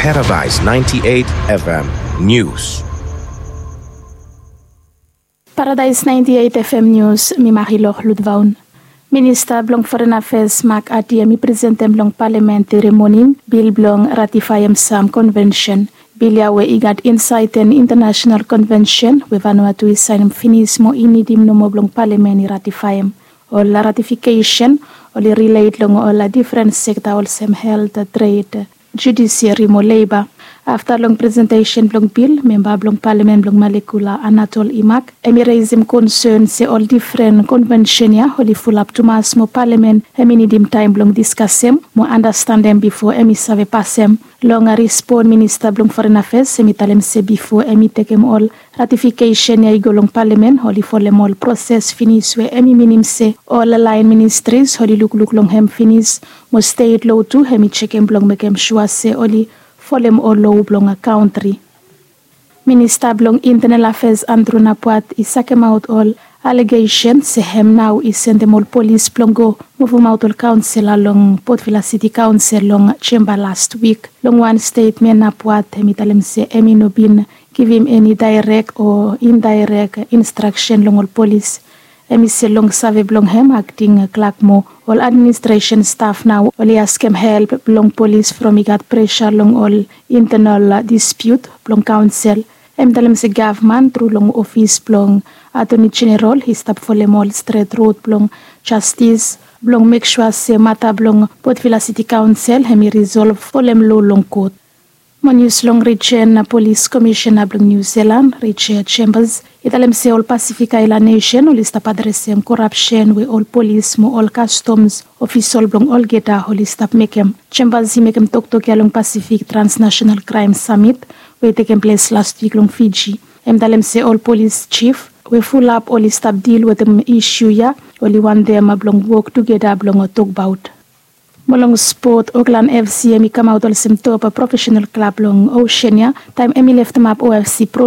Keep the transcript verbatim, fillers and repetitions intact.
Paradise ninety-eight F M News. Paradise ninety-eight F M News, mi Marilor Ludvaun. Minista blong Foreign Affairs Mark Ati hemi presentem long palamen tere moning bil blong ratifaem sam konvensen. Bil ya we i gat insaed ten intanasenal konvensen we Vanuatu i saenem finis mo i nidim nomo blong palamen i ratifaem. Ol ratifikesen oli rilet long ol difren sekta olsem helt, tred, judisiari mo leba. Afta long presentesen blong bil, memba blong palamen blong Malekula Anatol Imak hemi resem konsen se ol difren konvensen ya oli fulap tumas mo palamen hemi nidim taem blong diskasem mo andastandem bifo hemi save pasem. Long respon, minista blong Foreign Affairs hemi talem se bifo hemi tekem ol ratifikesen ya i go long palamen, oli folem ol proses finis we hemi minim se ol laen ministris oli lukluk long hem finis, mo stet loa tu hemi jekem blong mekem sua se oli folem ol loa blong kantri. Minista blong Intenal Afeas Andrew Napuat i sakemaot ol alegesen se hem nao i sendem ol polis blong go muvumaot ol kaonsela long Port Vila Siti Kaonsel long jemba las wik. Long wan stetmen, Napuat hemi talem se hemi no bin givim eni daerek o indaerek instraksen long ol polis. Hemi se long save blong hem, akting klak mo ol administresen staf nao oli askem help blong polis from i gat presa long ol intenal dispiut blong kaonsel. Hemi talem se gavman tru long ofis blong Atoni Jeneral i stap folem ol stret rod blong jastis blong mek sua se mata blong Port Vila Siti Kaonsel hemi risolv folem loa long kot. Mo nius long rijen, Polis Komisena blong Niu Silan, Richard Chambers, i talem se ol Pasifik Aelan nesen oli stap adresem korapsen we ol polis mo ol kastoms ofisol blong olgeta oli stap mekem. Chambers i mekem toktok ya long Pasifik Transnasenal Kraem Samit we i tekem ples las wik long Fiji. Hem talem se ol polis jif we fulap oli stap dil wetem isu ya oli wantem blong wok tugeta blong tokbaot. Mo long spot, Aukland F C hemi kamaot olsem top profesenal klab long Osean ya taem hemi leftemap O F C Pro